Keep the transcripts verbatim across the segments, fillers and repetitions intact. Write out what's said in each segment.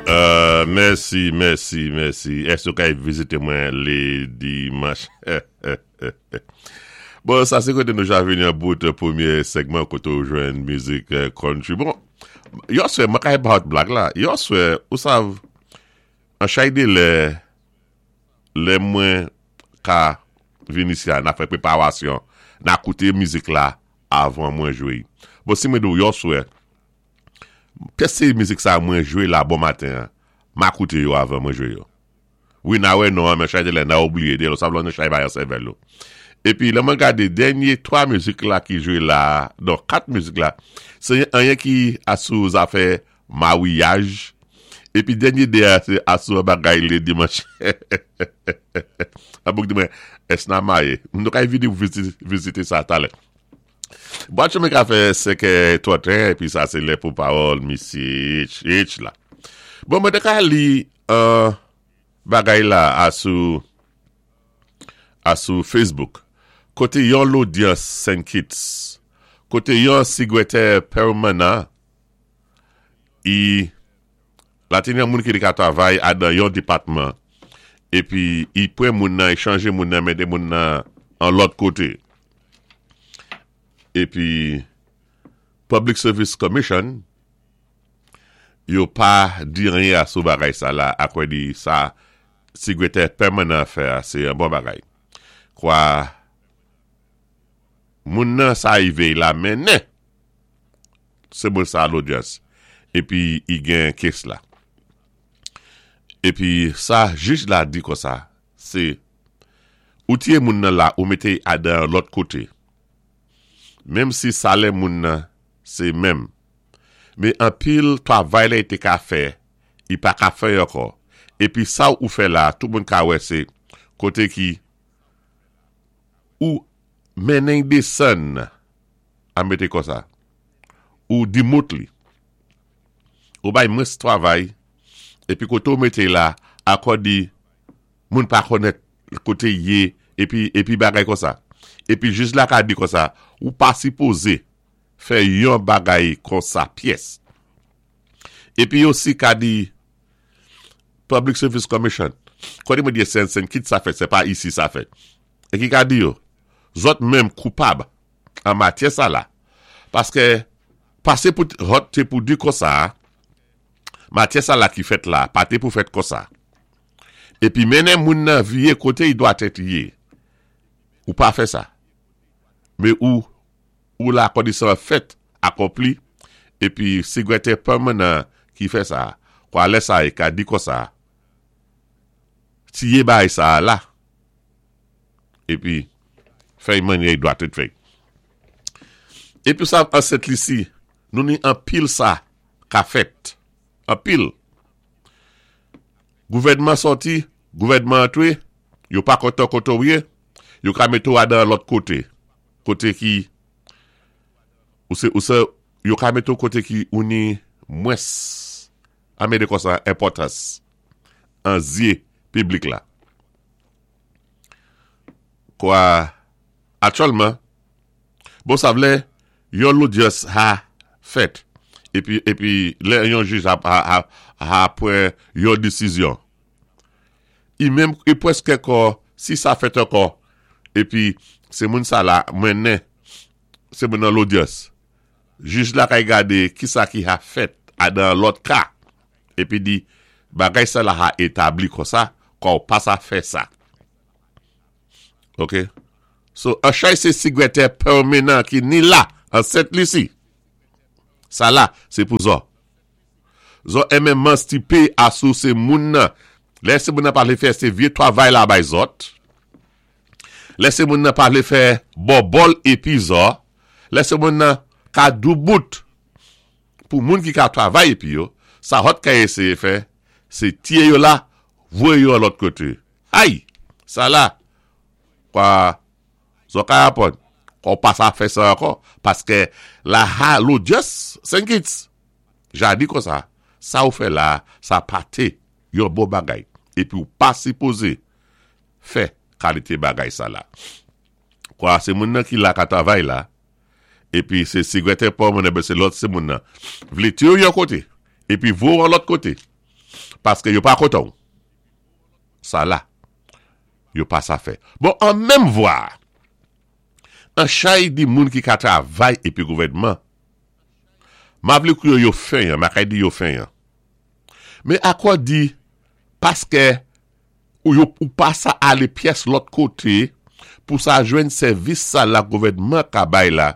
Euh, mèsi, mèsi, mèsi. Èske ou ka vizité mwen lé dimanch? Bon, sa sé koté nou ja vini an bout pwémyé segman koté ou jwenn mizik euh, country. Bon, yèswè, mwen ka hot blag la. Yèswè, ou sav, an chay dé lè, lè mwen ka vini isi a, na fè préparasyon, na kouté mizik la avan mwen jwé. Bon, si mwen di ou yèswè, pyès sé mizik sa mwen jwé la bon maten, ma kouté yo avan mwen jwé yo. Wi, na wè non, men chay dé lè na oubliyé, dé lò sa vlon chay bayan sèvèl yo. Épi, lè mwen gadé dènyé twa mizik la ki jwé la, non, kat mizik la, sé anyen ki asou zafè mawyaj, épi dènyé dé a, sé asou bagay lé dimanch. A bouk di mwen, ès na mayé. Nou kay vini vizité, vizité sa talè. Bon, mwen ka fè senkè twanten, épi sa sé lè pou pawòl misye H, H la. Bon, mwen té ka li euh, bagay la asou asou Facebook. Koté yon lodyans Saint Kitts, koté yon sigwétè pèmanan, i la té yon moun ki té ka travay adan yon dépatman, épi i pwan moun nan, i chanjé moun nan, mété moun nan an lòt koté. Épi Public Service Commission, yo pa di anyen asou bagay sa la, akwè di sa sigwétè pèmanan fè, sé yon bon bagay. Kwa moun nan sa ivé la mennen, sé moun sa lodyans, épi i gen case la. Épi sa jij la di konsa, sé ou tiyé moun nan la ou mété adan lòt koté. Menm si salè moun nan sé menm. Men anpil travay la i té ka fè, i pa ka fè ankò. Épi sa ou fè la, tout moun ka wè sé koté ki ou mennen désann a mété konsa. Ou demote li. Ou bay mwens travay, épi koté ou mété la, ankò di moun pa konnèt koté yé, épi, épi bagay konsa. Épi jij la ka di konsa, ou pa sipozé fè yon bagay konsa pyès. Épi osi ka di Public Service Commission, koté mwen di Saint Saint Kitts sa fèt, sé pa isi sa fèt. É ki ka di yo, zòt menm koupab an matyè sa la. Paské pasé pou hot té pou di konsa, matyè sa la ki fèt la, pa té pou fèt konsa. Épi mennen moun nan viyé koté i dwa tèt yé. Ou pa fè sa. Men ou, ou la kondisyon fèt akonpli, épi sigwétè pèmanan ki fè sa, kwa lè sa e ka di konsa, tiyé bay sa la, épi fè mannyè i dwa tèt fè. Épi sa an Sent Lisi, nou ni anpil sa ka fèt. Anpil. Gouvèdman sòti, gouvèdman antwé, yo pa kontan koté ou yé, yo ka mété ou adan lòt koté. Koté ki, ou sé, ou sé, yo ka mété ou koté ki ou ni mwens, a mété konsa enpòtans, an zyé piblik la. Kwa, aktyèlman, bon sa vlé, yon lodyans ha fèt, épi, épi, lè yon jij a, a, a, a pwan yon désizyon. I menm, i pwèské kò, si sa fèt ankò, épi, sé moun sa la, mennen, sé moun nan lodyans. Jij la kay gadé ki sa ki ha fèt adan lòt ka, épi di, bagay sa la ha établi konsa, kwa ou pa sa fè sa. Ok? So, an chay sé sigwétè pèmanan ki ni la, an Sent Lisi. Sa la, sé pou zò. Zò enmen manstipé asou sé moun nan. Lè sé moun nan pa vlé fè, sé vyé travay la bay zòt. Lè sé moun nan pa vlé fè bòbòl épi zò. Lè sé moun nan ka doubout pou moun ki ka travay épi yo, sa hot ka éséyé fè, sé tiyé yo la, voyé yo an lòt koté. Ay! Sa la, kwa zò ka apon, kwa ou pa sa fè sa ankò, paské la ha lodyans, Saint Kitts, ja di konsa, sa ou fè la, sa pa té yon bon bagay, épi ou pa sipozé fè kalité bagay sa la. Kwa sé moun nan ki la ka travay la, épi sé sigwétè pèmanan, ben sé lòt sé moun nan, vlé tiwé yon koté, épi voyé an lòt koté. Paské yo pa kontan. Sa la, yo pa sa fè. Bon, an menm vwa, an chay di moun ki ka travay épi gouvèdman, ma vlé kou yo yo fenyan, ma kay di yo fenyan. Men akò di, paské ou yo ou pa sa alé pyès lòt koté pou sa jwenn sèvis sa la gouvèdman ka bay la,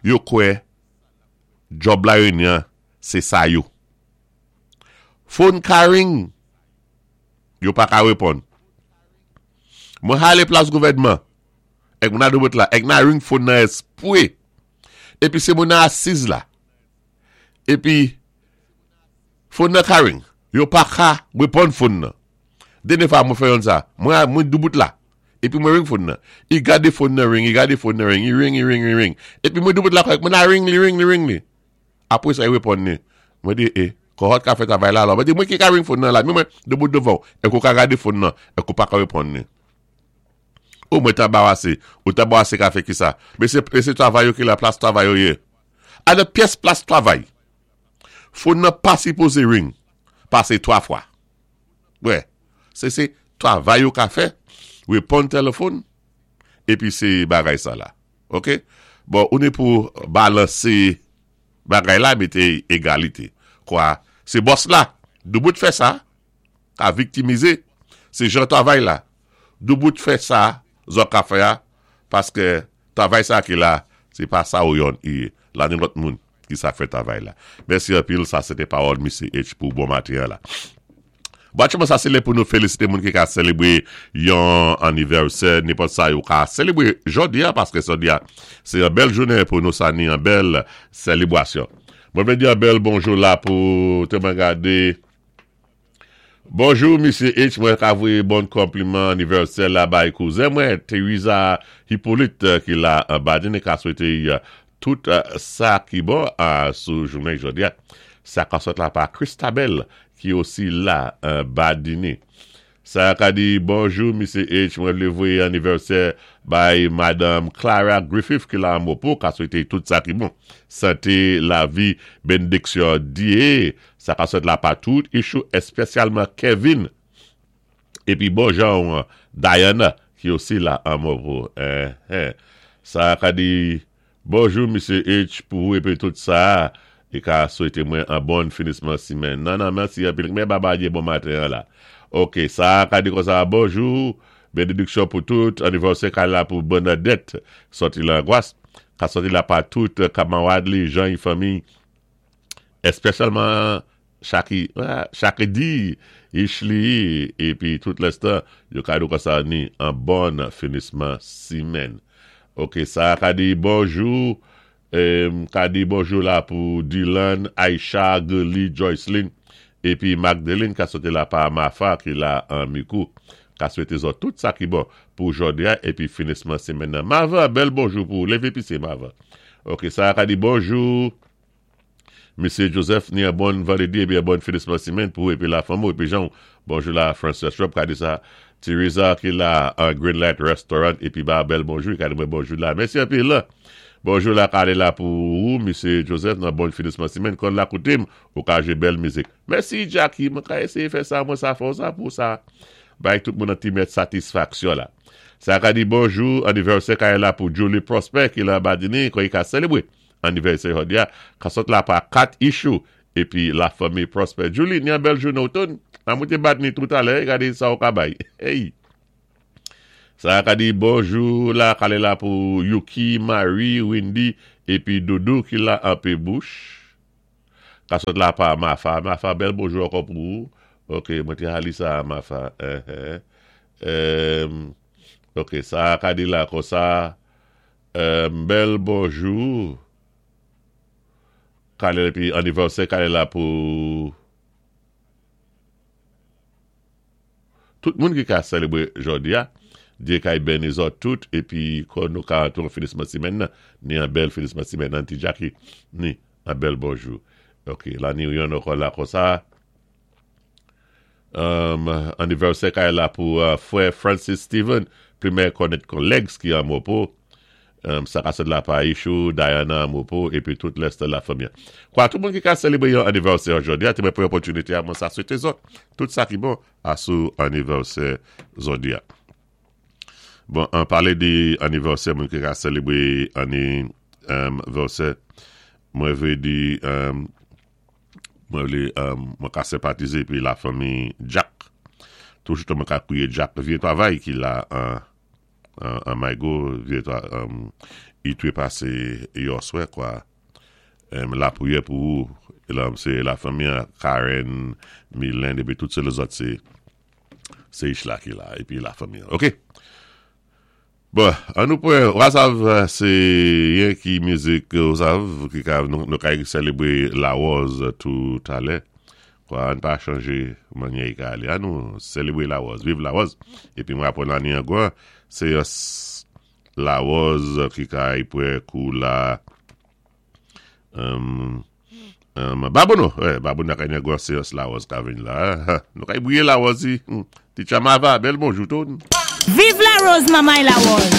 yo kwè job la yon sé sa yo. Phone ka ring, yo pa ka réponn. Mwen alé plas gouvèdman, èk mwen a doubout la, èk na ring phone nan espwé, épi sé moun nan asiz la, épi phone nan ka ring, yo pa ka réponn phone nan. Dènyé fwa mwen fè yon sa, mwen mwen doubout la, épi mwen ring phone nan. I gadé phone nan ring, i gadé phone nan ring, i ring, i ring, i ring. Épi mwen doubout la, mwen a ring li, ring li, ring li. Apwé sa i réponn ni. Mwen di, eh, kòt ka fè travay la alò. Mwen di, mwen ki ka ring phone nan la, mwen mwen doubout devan, èk ou ka gadé phone nan, èk ou pa ka réponn ni. Ou mwen t'anbarasé, ou t'anbarasé ka fè ki sa. Men sé, sé travay yo ki la plas travay yo yé. A de pyès plas travay. Phone nan pa sipozé ring. Pasé twa fwa. Wè, sé sé travay yo ka fè, réponn téléfòn, épi sé bagay sa la. Ok? Bon, ou ni pou balansé bagay la, mété égalité. Kwa, sé boss la, doubout fè sa, ka viktimizé, sé jan travay la. Doubout fè sa, zòt ka fè a, paské travay sa ki la, sé pa sa ou yon i, la ni lòt moun ki sa fè travay la. Mèsi anpil, sa sé té pawòl Misye H pou bon maten la. Bon, aktyèlman sa sé lè pou nou félisité moun ki ka sélébwé yon anivèsè, nenpòt sa yo ka sélébwé jòdi a, paské jòdi a, sé yon bèl jounen pou nou sa ni yon bèl sélébwasyon. Mwen vlé di yon bèl bonjou la pou te mwen gadé. Bonjou, Misye H, mwen ka voyé bon konpliman anivèsè la bay kouzen mwen, Teresa Hippolyte ki la an Badine, ka swété tout sa ki bon sou jounen jòdi a. Sa ka sot la pa Christabel ki osi la an Badine. Sa ka di bonjou, Misye H, mwen vlé voyé anivèsè bay Madame Clara Griffith ki la an Mopo, ka swété tout sa ki bon. Santé, lavi, bénédiksyon Dyé. Sa ka sot la pa tout ichou, espesyalman Kevin. Épi bon jan Diana ki osi la an Mopo. Eh, eh. Sa ka di bonjou, Misye H, pou ou épi tout sa. É ka swété mwen an bon finisman simèn. Nan, nan, mèsi anpil. Men baba dyé bon maten la. Ok, sa ka di kon sa, bonjou, bénédiksyon pou tout, anivèsè ka la pou Bernadette, soti Langwas, ka soti la pa tout, kamarad li, Jean y fanmi, espesyalman Chaki, Chaki di, Ishli, épi tout lèstan, yo ka di kon sa ni an bon finisman simèn. Ok, sa ka di bonjou, ka di bonjou la pou Dylan, Aisha, Gurley, Joycelyn, épi Magdalene ka soté la pa Mafa ki la an Mikou. Ka swété zòt tout sa ki bon pou jòdi a épi finisman simèn nan. Mava, bèl bonjou pou lévé pisé Mava. Ok, sa ka di bonjou Misye Joseph, ni an bon vandrédi épi an bon finisman simèn pou épi la fanmi épi Jean. Bonjou la Frances Rob ka di sa. Teresa ki la an Green Light Restaurant épi ba bèl bonjou, ka di mwen bonjou la. Mèsi anpil la. Bonjou la ka la pou ou, Misye Joseph, nan bon finisman simèn. Kon la koutim, ou ka jwé bèl mizik. Mèsi Jackie, mwen ka éséyé fè sa, mwen sa fò sa pou sa. Bay tout moun an ti mèt satisfaksyon la. Sa ka di bonjou, anivèsè ka la pou Julie Prosper ki la Badini, kon yi ka sélébwé. Anivèsè jòdi a, ka sot la pa kat ichou, épi la fanmi Prosper. Julie, ni an bèl jounen outon, nan mwen te bat ni tout alè, gade sa ou ka bay. Hey! Sa ka di bonjou la, kale la pou Yuki, Marie, Wendy, épi Doudou ki la anpé bouch. Ka sot la pa Mafa. Mafa, bèl bonjou ankò pou ou. Ok, mwen te hali sa Mafa. Eh, eh. Um, ok, sa ka di la kon sa. Um, bèl bonjou. Kale épi anivèsè kale la pou tout moun ki ka sélébwé jòdi a. Dyé kay béni zòt tout épi kon nou ka antou finisman simèn nan, ni an bèl finisman simèn nan ti Jackie, ni an bèl bonjou. Ok, la ni yon ankò la kon sa. Um, anivèsè kay la pou uh, frè Francis Steven, pli mè konnèt kon Legs ki an Mopo. Sa ka sèt la pa Ishou, Diana, Mopo, épi tout lès la fanmi. Kwa, tout moun ki ka sélébwé yon anivèsè jòdi-a, té mwen pwan opòtinité a mwen sa swété zòt. Tout sa ki bon asou anivèsè jòdi-a. Bon, an palé di anivèsè, moun ki ka sélébwé anivèsè, mwen vlé di, mwen vlé, mwen ka senpatizé épi la fanmi Jack. Toujou mwen ka kwiyé Jack, vyé twavay ki la an an Maygo, vyé i twé pasé yèswa kwa. Lapriyè pou ou, sé la fanmi Karen, Mylène, épi tout sé lèzòt sé sé Ishla ki la, épi la fanmi. OK. Bon, an nou pwan, wasav, sé yen ki mizik wasav, ki ka nou ka sélébwé Larose toutalè. Kwa, an pa chanjé mannyè i ka alé. An nou sélébwé Larose, viv Larose. Épi mwen apwann lanni an gwan, sé Larose ki ka ipwé kou la um, um, Babouno, eh, Babouno ka yon gwan sé Larose ka vin la. Nou ka briyé Larose, ti chamava, bèl bonjou tout. Viv Larose, mamay Larose.